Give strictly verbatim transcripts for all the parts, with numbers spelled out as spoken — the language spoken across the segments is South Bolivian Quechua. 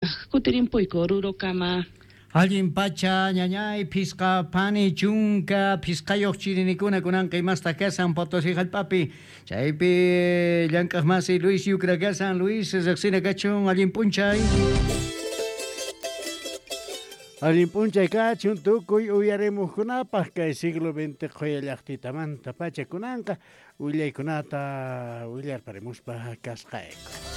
Kutirimpuyku Orurokama. Allin pacha ñañay phisqa pani chunka phisqayuq chirinikuna kunanqa imasta kasan Potosí hallp'api chaypi llank'aq masi Luis Yucra kasan. Luis, riqsina kachun, allin p'unchay. Allin p'unchay kachun tukuy uyarimuqkunapaq kay siglo veinte qhuya llaqtitamanta pacha kunanqa willaykunata willarparimuspa kasqayku.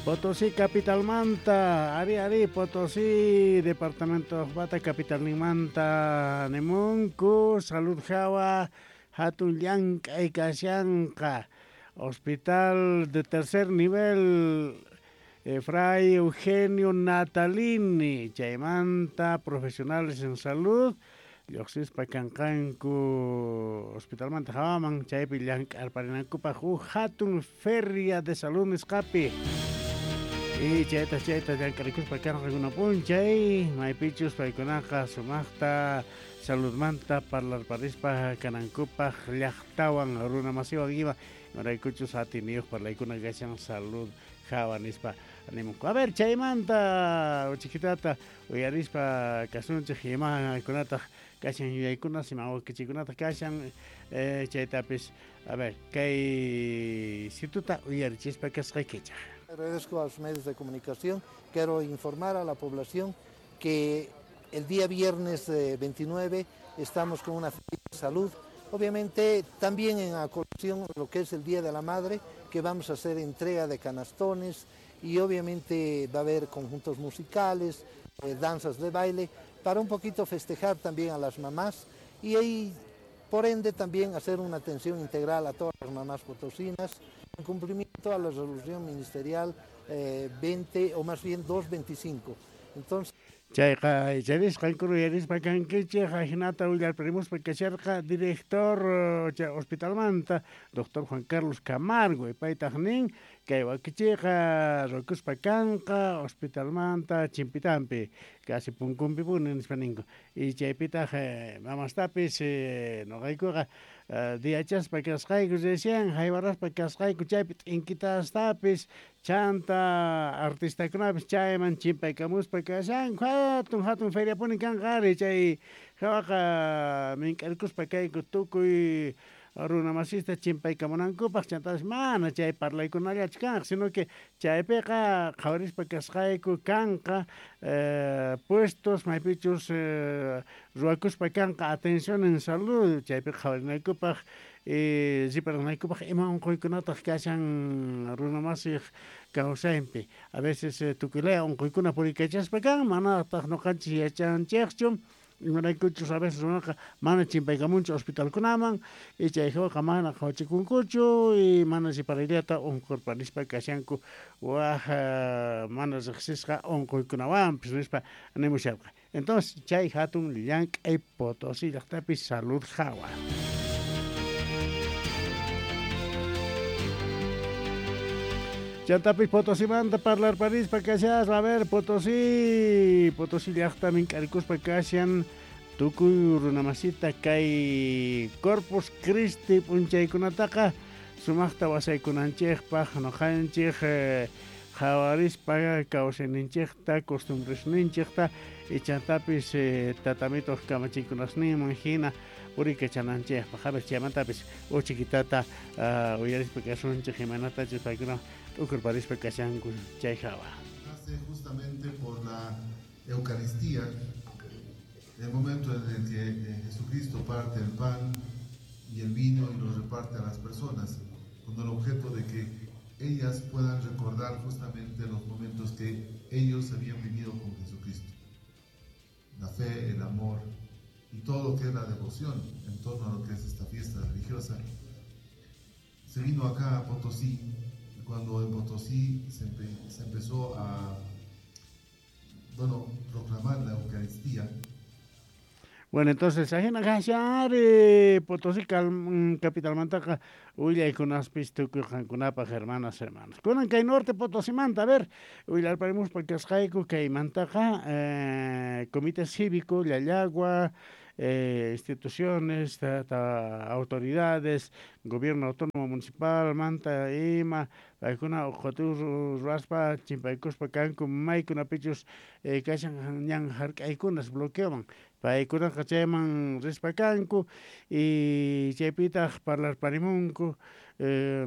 Potosí capitalmanta, ari ari Potosí departamento bata capitalninmanta nimunku salud hawa hatun llank'ay kashanqa hospital de tercer nivel eh, Fray Eugenio Natalini chaymanta profesionales en salud lluqsispa kanqanku hospitalmanta hawaman chaypi llank'arparinankupaq huk hatun feria de salud nisqapi. Y chayta chayta llank'arikuspa kanqa p'unchay maypichus paykunaqa sumaqta saludmanta parlarparispa kanankupaq llaqtawan runa masiwan ima imaraykuchus atiniyuq parlaykuna kashan salud hawa nispa animunku. A ver, chaymanta uchikitata uyarispa kasunchik imakunataq kashan yuyaykunas ima wakichikunataq kashan eh, chaytapis a ver kay situta uyarichispa kasqaykichaq. Agradezco a los medios de comunicación. Quiero informar a la población que el día viernes veintinueve estamos con una feria de salud. Obviamente también en colación lo que es el Día de la Madre, que vamos a hacer entrega de canastones y obviamente va a haber conjuntos musicales, eh, danzas de baile, para un poquito festejar también a las mamás y ahí, por ende, también hacer una atención integral a todas las mamás potosinas, en cumplimiento a la resolución ministerial eh, veinte, o más bien doscientos veinticinco. Entonces, chayqa icharisqanku uyarispa kankichik ajinata willarparimuspa kasharqa director chay hospitalmanta doctor Juan Carlos Camargo paytaq nin kay wakichiyqa rukuspa kanqa hospitalmanta chimpitampi casi punkunpi puni nispa ninku y chaypitaq mamastapis noqaykuqa diachaspa kasqayku recién haywaraspa kasqayku chaypi t'inkitastapis chanta artistakunapis chayman chimpaykamuspa kashanku hatun hatun feriapuni kanqa ari chay hawaqa mink'arikuspa kayku tukuy runa masista chimpaykamunankupaq chantapis mana chay parlaykunallachu kanqa sino que chaypiqa qhawarispa kasqayku kanqa eh, puestos maypichus eh, ruwakuspa kanqa atención en salud chaypiqa qhawarinaykupaq eh, riparanaykupaq ima unquykunataq kashan runa masiq kawsaypi a veces eh, tukuylaya unquykuna purikachaspa kan manataq nuqanchik yachanchikchu imaraykuchus a veces runaqa mana chimpaykamunchu hospitalkunaman y chay hawaqa mana qhawachikunkuchu y mana riparayllata unqurparispa kashanku waj mana riqsisqa unquykunawanpis nispa nimusharqa. Entonces chay hatun llank'ay Potosí llaqtapi salud hawa. Chantapis Potosimanta parlarparispa kashaspa, a ver, Potosí, Potosí llaqta mink'arikuspa kashan tukuy runamasita kay Corpus Christi p'unchaykunataqa sumaqta wasaykunanchikpaq nuqanchik eh, qhawarispa kawsayninchikta costumbresninchikta y chantapis eh, tatamituq kamachiykunasninman hina purikachananchikpaq. A ver, chaymantapis uchikitata uh, uyarispa kasunchik imaynatachus paykuna t'ukurparispa kashanku chay hawa. Nace justamente por la Eucaristía, el momento en el que Jesucristo parte el pan y el vino y los reparte a las personas, con el objeto de que ellas puedan recordar justamente los momentos que ellos habían vivido con Jesucristo. La fe, el amor y todo lo que es la devoción en torno a lo que es esta fiesta religiosa. Se vino acá a Potosí, y cuando en Potosí se, empe- se empezó a, bueno, proclamar la Eucaristía. Bueno, entonces, ajina kashari Potosí capitalmantaqa willaykunaspis tukuy qankunapaq hermanas, hermanos. Kunan kay norte Potosimanta, a ver, willarparimuspa kasqayku kaymantaqa eh, Comité Cívico, Llallagua, eh, instituciones, ta, ta, autoridades, gobierno autónomo municipal, manta ima, paykuna uqhatu ruwaspa chimpaykuspa kanku maykunapichus eh, kashan ñan hark'aykunas bloqueoman paykunaqa chayman rispa kanku y chaypitaq parlarparimunku eh,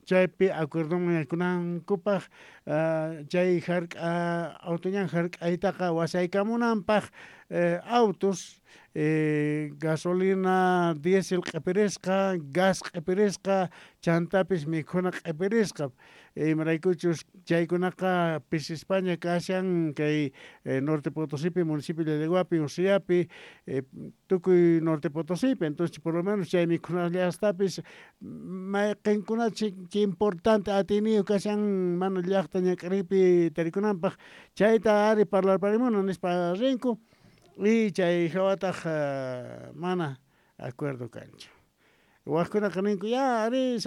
chaypi acuerdoman yaykunankupaq uh, chay hark'a autoñan hark'aytaqa wasaykamunanpaq eh, autos eh, gasolina diésel q'ipirisqa gas q'ipirisqa chantapis mikhuna q'ipirisqa imaraykuchus chaykunaqa pisispaña kashan kay eh, Norte Potosipi municipio de Llallaguapi Usiapi eh, tukuy Norte Potosipi entonces por lo menos chay mikhunallastapis mayqinkunachik chay importante atiniyu kashan mana llaqta ñak'aripi tarikunanpaq chayta ari parlarparimuna nispa rinku y chay hawataq uh, mana acuerdo kanchu wajkunaqa ninku ya ari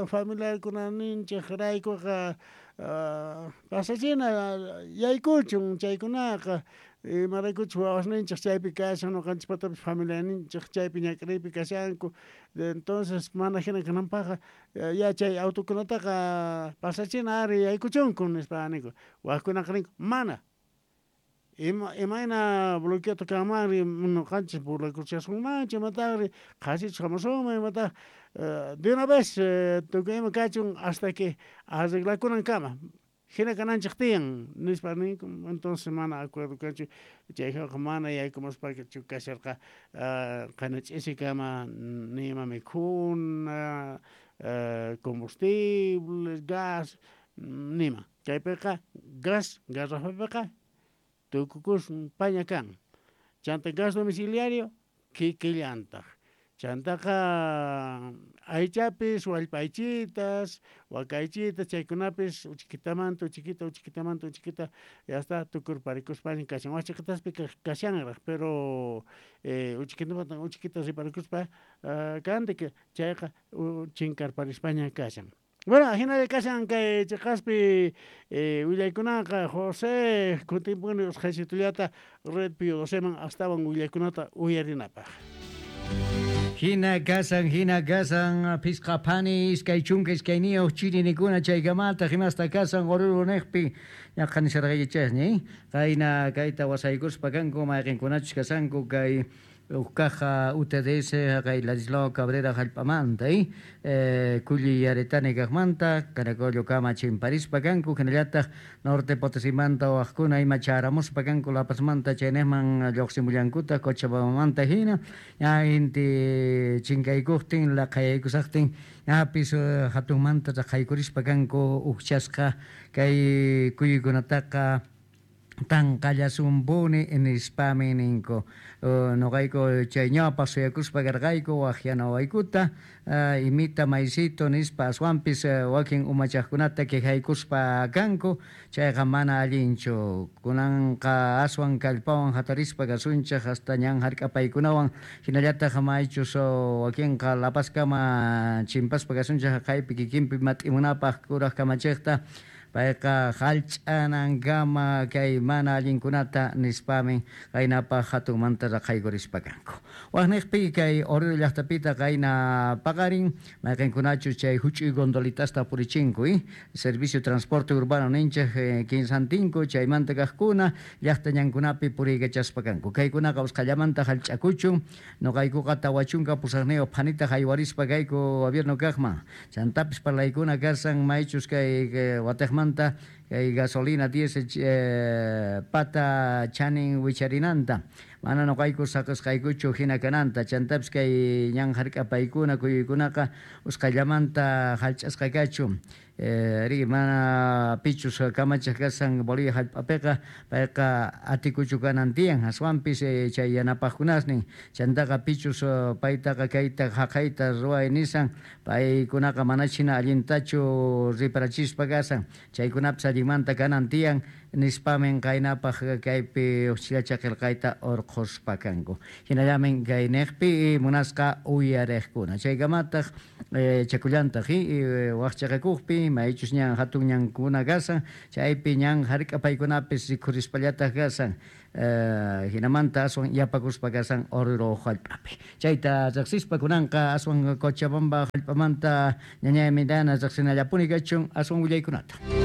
familiarkuna ninchik raykuqa uh, pasachina yaykuchun chaykunaqa imaraykuchus wawasninchik chaypi kashan ñuqanchikpatapis familianinchik chaypi ñak'ariypi kashanku entonces mana hina kananpaqqa ya chay autokunataqa pasachina ari yaykuchunku nispa ninku wajkunaqa ninku mana ima imayna bloqueota kanmanri ñuqanchik burlakuchasunmanchu imataqri qhasichus hamusunman imataq uh, de una vez uh, tukuy ima kachun hasta que arreglakunankama hina kananchik tiyan nispa ninku entonces mana acuerdo kanchu chayqa mana yaykumuspachu kasharqa uh, qayna ch'isikama nima mikhuna uh, combustible gas nima chaypiqa gas garrafapiqa tukukus paña kan chanta gas domiciliario kikillantaq chantaqa aychapis wallpaychitas wakaychitas chaykunapis uchikitamanta uchiquita uchikitamanta uchiquita ya está tukurparikuspaña kashan wachiqitaspi kashanraq pero eh, uchikitamanta uchiquita riparikuspa uh, kantik chayqa chinkarparispaña kashan. Bueno, hinalla kashan kay chiqaspi eh, willaykunaqa José kutimpuni usqhaysitullata Red Pío doceman astawan willaykunata uyarinapaq. Hina kasan, hina kasan, phisqa phani, iskay chunka iskayniyuq chirinikuna chaykamataq imasta kasan Oruro niqpi ñaqha nisharqaykichasña, qayna kayta wasaykuspa kanku mayqinkunachus kasanku kay uqkaqa U T D S kay Ladislao Cabrera hallp'amanta eh, Kulli Yaretani kaqmanta Caracollo kama chimparispa kanku hinallataq Norte Potosimanta waqkuna ima charamuspa kanku La Pazmanta chaynejman lluqsimullankutaq Cochabambamanta hina ña inti chinkaykuqtin laqhayaykusaqtin ñapis hatunmanta raqhaykurispa kanku uqchasqa kay kuyuykunataqa tanqallasumpuni nispami ninku uh, noqayku chay ñawpaq suyakuspa karqayku waqyanawaykuta uh, imita maysito nispa aswanpis uh, wakin umachaqkunata quejaykuspa kanku chayqa mana allinchu kunanqa aswan kallpawan hatarispa kasunchik hasta ñan hark'apaykunawan hinallataq maychus uh, wakinqa La Pazkama chimpaspa kasunchik haqaypi kikinpi mat'imunapaq kuraq kamachiqta payqa hallch'anankama kay mana allinkunata nispamin qaynapaq hatunmanta raqhaykurispa kanku. Waqniqpi kay Oruro llaqtapita qayna paqarin mayqinkunachus chay huch'uy gondolitasta purichinku eh? Servicio transporte urbano ninchik eh, kinsantinku chaymanta kaqkuna llaqta ñankunapi puriykachaspa kanku. Kaykunaqa usqhallamanta hallch'akuchun nuqaykuqa tawa chunka pusaqniyuq phanita haywarispa kayku gobierno kaqman chantapis parlaykuna kasan maychus kay, kay watiqman kay gasolina diésel eh, pata chanin wicharinanta mana nuqayku saqisqaykuchu hina kananta chantapis kay ñan hark'apaykuna kuyuykunaqa usqhallamanta hallch'asqa kachu eh, ri mana pichus kamachiq kasan Bolivia hallp'apiqa payqa atikuchu kanan tiyan aswanpis eh, chay yanapaqkunasnin chantaqa pichus paytaqa kayta haqayta ruway nisan paykunaqa manach hina allintachu riparachispa kasan chaykunapis allinmanta kanan tiyan nispamin qaynapaq kaypi uqchillacha qillqayta urqhuspa kanku hinallamin kay niqpi munasqa uyariqkuna chaykamataq eh, chakullantaq eh, waqchaqakuqpi maychus ñan hatun ñankuna kasan chaypi ñan hark'apaykunapis rikhurispallataq kasan eh, hinamanta aswan yapakuspa kasan Oruro hallp'api chayta riqsispa kunanqa aswan Cochabamba hallp'amanta ñañay Midana riqsinallapuni kachun aswan willaykunata.